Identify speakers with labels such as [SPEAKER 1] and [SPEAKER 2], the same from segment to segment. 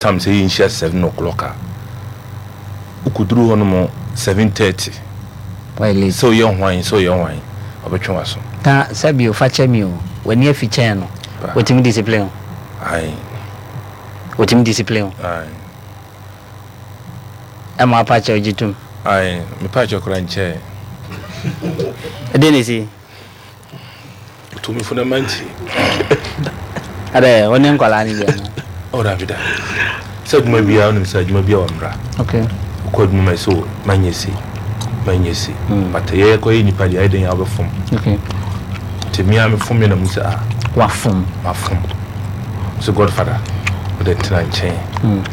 [SPEAKER 1] Time sɛ yɛnhyia 7 o'clock a, wokɔduru hɔ nom 7:30.
[SPEAKER 2] Why late?
[SPEAKER 1] Sɛ woyɛ hwan, sɛ woyɛ hwan, ɔbɛtwe w'aso.
[SPEAKER 2] Na sɛbi o, fa kyɛ me o, w'ani afi kyɛn no, wɔtumi discipline wo?
[SPEAKER 1] Ae.
[SPEAKER 2] Wɔtumi discipline wo?
[SPEAKER 1] Ae.
[SPEAKER 2] Ɛma apa kyɛw gye tom?
[SPEAKER 1] Ae, mepa kyɛw koraa nkyɛɛ.
[SPEAKER 2] Ɛdeɛn na ɛsi?
[SPEAKER 1] Tumifo na mantie.
[SPEAKER 2] Adɛ, wo ne nkwadaa no bi ana?
[SPEAKER 1] Oh, dabi dabi. Sɛ adwuma biara, wonim sɛ adwuma biara wɔ mmara.
[SPEAKER 2] Okay.
[SPEAKER 1] Wokɔ adwuma ma ɛsɛ o, manyɛ sei, manyɛ sei. But yɛyɛ kɔyɛ nipa deɛ, ayɛ dɛn a wobɛfom.
[SPEAKER 2] Okay.
[SPEAKER 1] Nti me a mefom yɛ na mu sɛ ah.
[SPEAKER 2] Wafom.
[SPEAKER 1] Mafom. Sɛ Godfather, wode tena nkyɛn.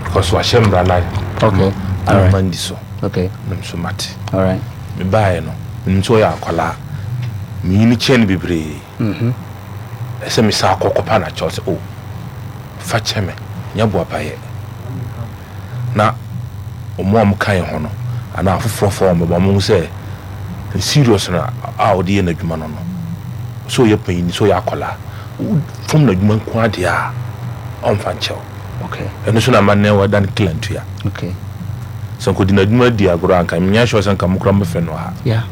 [SPEAKER 1] Because wahyɛ mmara no.
[SPEAKER 2] Okay.
[SPEAKER 1] Ana mandi so.
[SPEAKER 2] Okay.
[SPEAKER 1] Na me so mate.
[SPEAKER 2] All right.
[SPEAKER 1] Mebaeɛ no, menim sɛ ɔyɛ akwadaa. Menyini kyɛn no bebree. Ɛsɛ mesan kɔ kɔpa no akyɛw sɛ, oh, fa kyɛ me, nyɛ boapayɛ. Na wɔn a wɔka yɛn ho no, anaa afoforɔfoɔ a wɔbɛba, wɔhu sɛ serious no a ɔde yɛ n'adwuma no no, sɛ ɔyɛ panyin, sɛ ɔyɛ akwadaa, wofam n'adwuma nko ara deɛ a, ɔmfa nkyɛ wo.
[SPEAKER 2] Okay.
[SPEAKER 1] Ɛno so na ama nnɛ wadan kilantua.
[SPEAKER 2] Okay.
[SPEAKER 1] Sɛ nkɔdi n'adwuma di agorɔ a, nka menyɛ sure sɛ nka mo koraa mobɛfrɛ no ha.
[SPEAKER 2] Yeah.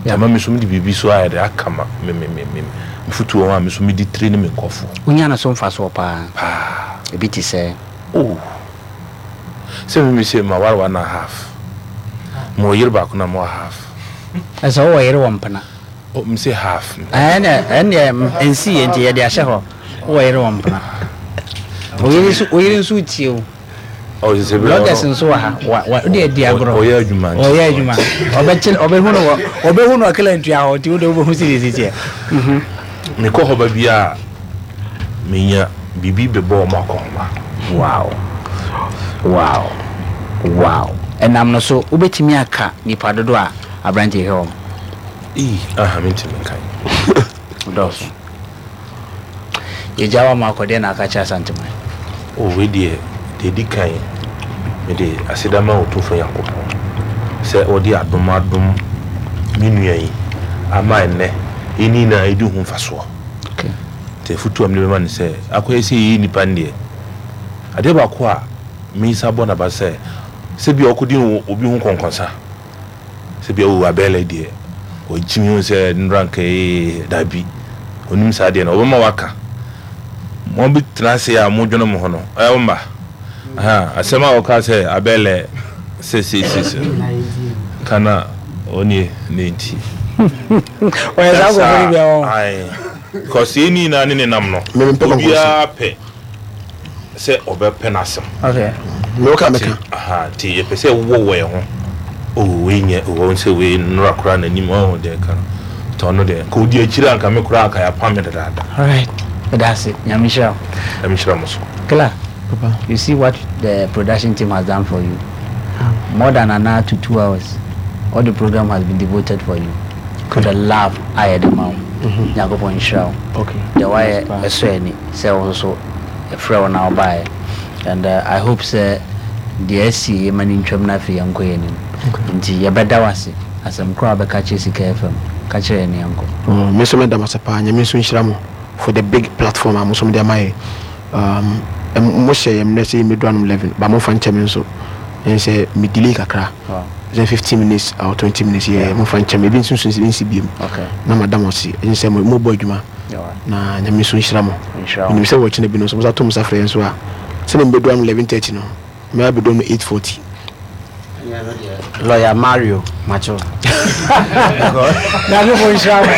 [SPEAKER 1] Nti ama me nso mede biribi so ayɛ dɛ aka ma me me me me fotuo ho a me nso mede tire ne me nkurɔfoɔ.
[SPEAKER 2] Wonya no so mfasoɔ paa.
[SPEAKER 1] Paa.
[SPEAKER 2] Ebi te sɛ?
[SPEAKER 1] Oh. Sɛ me me se maware one and a half. Mewɔ yere baako na mewɔ half.
[SPEAKER 2] Ɛsɛ wowɔ yere wɔ mpena?
[SPEAKER 1] Oh, me se half.
[SPEAKER 2] Ɛnɛ ɛndeɛ nsi yɛ nti yɛde ahyɛ hɔ. Wowɔ yere wɔ mpena. Oyere nso oyere nso tie o.
[SPEAKER 1] Oh, sɛ bi
[SPEAKER 2] Bloggers nso wɔ ha. Wa wa wode adi agorɔ.
[SPEAKER 1] Ɔyɛ adwuma nti.
[SPEAKER 2] Ɔyɛ adwuma. Ɔbɛkye ɔbɛhu no wɔ ɔbɛhu no ɔkela ntua hɔ nti wode wobɛhu sɛ deɛ ɛsi teɛ. Mhm.
[SPEAKER 1] Mekɔ hɔ ba bi a menya biribi bɛbɔ wɔn akɔnhoma.
[SPEAKER 2] Wow. Wow. Wow. Ɛnam no so wobɛtumi aka nipa dodoɔ a aberanteɛ hwɛ wɔn.
[SPEAKER 1] Ii, aha mentumi nkan.
[SPEAKER 2] Dɔɔso. Yɛgya wo ama akɔ, deɛ na aka kyerɛ Asanteman?
[SPEAKER 1] Oh, wei deɛ, deɛ ɛdi kan, mede aseda ma Otumfoɔ Nyankopɔn sɛ ɔde adom adom me nua yi ama ɛnnɛ yɛn nyinaa yɛdi ho mfasoɔ.
[SPEAKER 2] Okay.
[SPEAKER 1] Nti afotuo a mede bɛma no sɛ, akɔyɛ sɛ yɛyɛ nnipa no deɛ, adeɛ baako a mesa bɔ n'aba sɛ, sɛ bia ɔkɔdi obi ho nkɔnkɔnsa, Sɛ bia oh Abɛɛlɛ deɛ wagyimi hu sɛ nnora nka ee dabi onim saa deɛ no ɔbɛma waka mo bi tena ase a mo dwene mo ho no ɛyɛ wo mma aha asɛm a ɔka sɛ Abɛɛlɛ sɛ sei sei sei ka na ɔnie ne nti
[SPEAKER 2] Ɔyɛ saa nkurɔfoɔ no bi a wɔn.
[SPEAKER 1] Ae because yɛn nyinaa ne ne nam no obiara pɛ sɛ ɔbɛpɛ n'asɛm.
[SPEAKER 2] Okay.
[SPEAKER 3] Me woka meka.
[SPEAKER 1] Aha, nti yɛpɛ sɛ wowɔ wɔ yɛn ho. Oh, wei nyɛ, oh, wɔn sɛ wei nnora koraa n'anim, ɔho deɛ ka no. Nti ɔno deɛ, nka odi akyire a nka me koraa nka yɛapam me dadaada.
[SPEAKER 2] Alright, meda ase. Nyame nhyira wo.
[SPEAKER 1] Nyame nhyira mo so.
[SPEAKER 2] Killer,
[SPEAKER 3] Papa.
[SPEAKER 2] you see what the production team has done for you? More than an hour to 2 hours, all the program has been devoted for you. For the love a yɛde ma wo. Nyankopɔn nhyira wo.
[SPEAKER 3] Okay.
[SPEAKER 2] Deɛ woayɛ ɛsɔ ani sɛ wo nso yɛfrɛ wo na wobaeɛ. And I hope sɛ deɛ asi yɛ ma no ntwam na afei yɛnkɔ yɛn anim. Nti yɛbɛda wo ase. Asɛm korɔ a wobɛka kyerɛ Sika FM, ka kyerɛ yɛn na yɛnkɔ.
[SPEAKER 3] Oh, me nso mɛda mo ase paa. Nyame nso nhyira mo for the big platform a mo nso mode ama yɛn. Mo hyɛ yɛn mmerɛ sɛ yɛmmɛduru anom 11, but momfa nkyɛ me nso. Ɛne sɛ me delay kakra.
[SPEAKER 2] Wow.
[SPEAKER 3] Sɛ 15 minutes or 20 minutes yɛ momfa nkyɛ me. Ebi nso nso nsi biom.
[SPEAKER 2] Okay.
[SPEAKER 3] Na mada mo ase. Ɛne sɛ mo mobɔ adwuma.
[SPEAKER 2] Yeah.
[SPEAKER 3] Na Nyame nso nhyira mo.
[SPEAKER 2] Nhyira wo.
[SPEAKER 3] Menim sɛ wɔkyena bi no nso mo sa to mo sa frɛ yɛn nso a, sɛdeɛ mebɛduru anom 11:30 no, mɛba abɛduru anom 8:40.
[SPEAKER 4] Lawyer Mario Macho.
[SPEAKER 2] Nyankopɔn nhyira mo.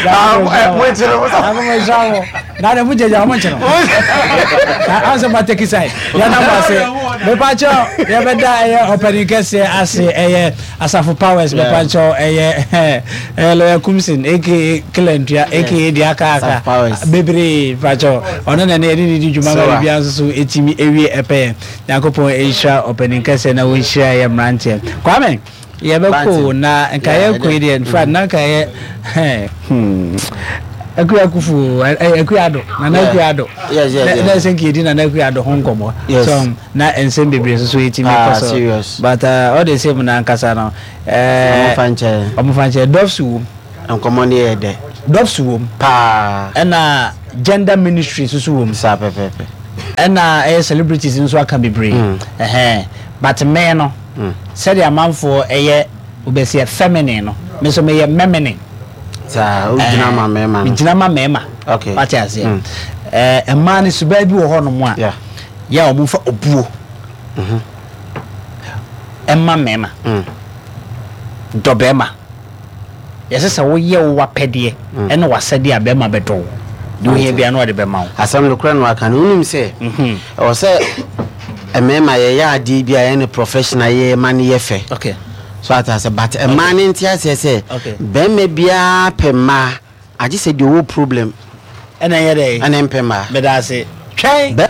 [SPEAKER 2] Nyankopɔn nhyira mo. Na de mo gyegya mo nkyene. Ansa ma take side. Yɛda mo ase. Mepa kyɛw yɛbɛda ɛyɛ ɔpanin kɛseɛ ase ɛyɛ Asafo Powers mepa kyɛw ɛyɛ ɛyɛ Lawyer Kumsin aka Kilantua aka deɛ aka aka bebree mepa kyɛw ɔno na ɛne yɛde ne di dwuma ma biribiara nso so ɛtumi ɛwie ɛpɛyɛ. Nyankopɔn nhyira ɔpanin kɛseɛ na wɔnhyira yɛ mmeranteɛ. Kwame, yɛbɛkɔ o na nka yɛkɔ yi deɛ nfa na nka yɛ hmm Akuya Kufu Akuya Ado Nana Akuya Ado na ɛsɛ nka yɛdi Nana Akuya Ado ho nkɔmmɔ so na nsɛm bebree nso so yɛtumi kɔ so but all the same na ankasa no ɔmofa nkyɛ dɔfs wom.
[SPEAKER 4] Nkɔmmɔ no yɛ dɛ.
[SPEAKER 2] Dɔfs wom
[SPEAKER 4] paa.
[SPEAKER 2] Ɛna gender ministry nso so wom.
[SPEAKER 4] Saa pɛpɛɛpɛ.
[SPEAKER 2] Ɛna ɛyɛ celebrities nso aka bebree. Ɛhɛn. But me no, sɛdeɛ amanfoɔ ɛyɛ wobɛsi feminine no, me nso meyɛ meminine.
[SPEAKER 4] Saa, wogyina ma mmarima no.
[SPEAKER 2] Megyina ma mmarima.
[SPEAKER 4] Okay.
[SPEAKER 2] Wate aseɛ. Ɛɛ mmaa no suban bi wɔ hɔnom a,
[SPEAKER 4] Yeah.
[SPEAKER 2] yɛ a wɔmfa obuo ɛma mmarima. Dɔ barima. Yɛsɛ sɛ woyɛ wo w'apɛdeɛ ɛne w'asɛdeɛ a barima bɛdɔ wo. Deɛ ohia biara no ɔde bɛma wo.
[SPEAKER 4] Asɛm nokorɛ na waka no. Wonim sɛ ɛwɔ sɛ mmarima yɛyɛ adeɛ bi a yɛyɛ no professional yɛ ma no yɛ fɛ.
[SPEAKER 2] Okay.
[SPEAKER 4] So ate aseɛ but mmaa no nte aseɛ sɛ
[SPEAKER 2] Okay.
[SPEAKER 4] barima biara pɛ mmaa agye sɛ deɛ ɔwɔ problem
[SPEAKER 2] Ɛna ɛyɛ dɛ.
[SPEAKER 4] ɛna mpɛ mmaa.
[SPEAKER 2] Meda ase. Twɛn.
[SPEAKER 4] Barima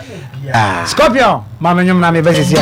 [SPEAKER 4] biara.
[SPEAKER 2] Scorpion, ma me nwom na mebɛ sisi a.